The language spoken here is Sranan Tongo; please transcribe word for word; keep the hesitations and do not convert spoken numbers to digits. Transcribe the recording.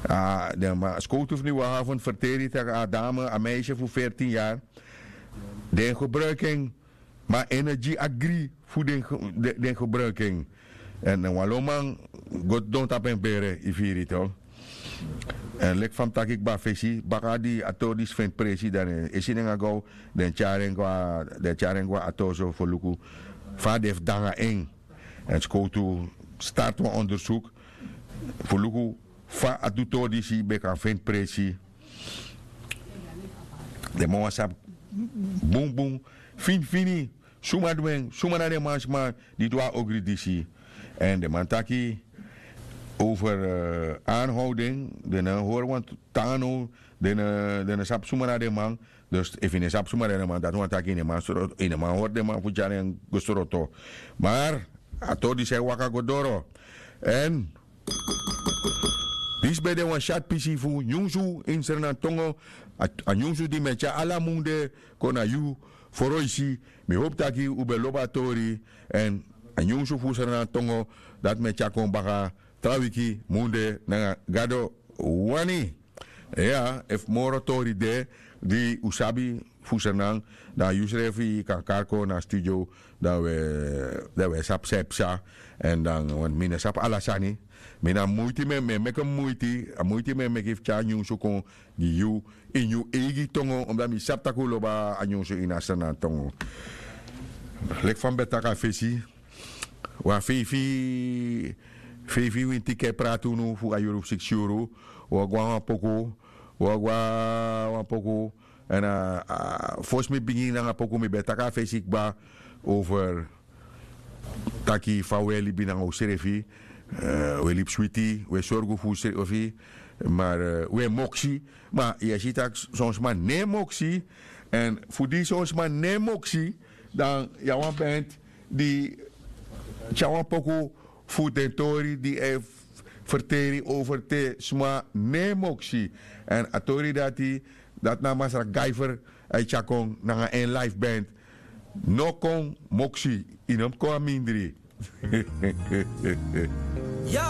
A den man skowtu fu niwahaven ferteri tak' a dame a meisye fu fertin yari, den gebruiki en. Ma energi agri fu den gebruiki en. Èn wan lo man go sidon tapu en bere yu firi yu to. Èn leki fa mi taki kba fesi baka di a tori disi feni presi dan den e si nanga gow, den tyari en go na a tori so fu luku fa den fu de nanga en. Èn skowtu starti wan ondersuku fu luku fa a du tori disi ben kan feni presi. Den man wani sabi bunbun finifini suma du en, suma na den mansma di du a ogri disi. Èn den man taki over anhowden den no hori wan tan now. Den no sabi suma na den man. Dus efu yu no sabi suma na den man dati wani taki yu no man hori den man fu tyari en go sroto. Mar a tori disi e waka go doro. Èn disi ben de wan syatu pisi fu nyunsu ini srnantongo. A nyunsu di mi e tyari ala munde kon na yu foroisi. Mi hopu taki un ben lobi a tori. Èn a nyunsu fu srnantongo dati mi e tyari kon baka tra wiki munde nanga gado wani. Iya, efu moro tori de di un sabi fu srnan, dan yusrefi kan kari kon na studio. Dan wi e sabi san e psa. Èn dan mi no sabi ala sani. Mi na muiti mi e meki muiti a muiti mi e meki fu tyari nyunsu kon gi yu ini yu eigi tongo omdat mi sabi tak' un lobi a nyunsu ini a srnan tongo. Leki fa mi ben taki a fesi, wan feifi feifi winti ken prati unu fu a yuru fu siksi yuru. Wi o go na wan poku. Wi o go na wan poku. Èn fosi mi bigin nanga poku mi ben taki a fesi kba over taki fa wi e libi nanga unsrefi. Wi e libi switi, wi e sorgu fu unsrefi. Mar wi e moksi. Ma yu e si tak' son sma no e moksi. Èn fu di son sma no e moksi, dan yu na wan band di tyari wan poku fu den tori di e ferteri over te sma no e moksi. Èn a tori dati, dati na masra gaifer. A e tyari kon nanga en life band. No kon moksi. Yu no mus kon a mindri. Ya.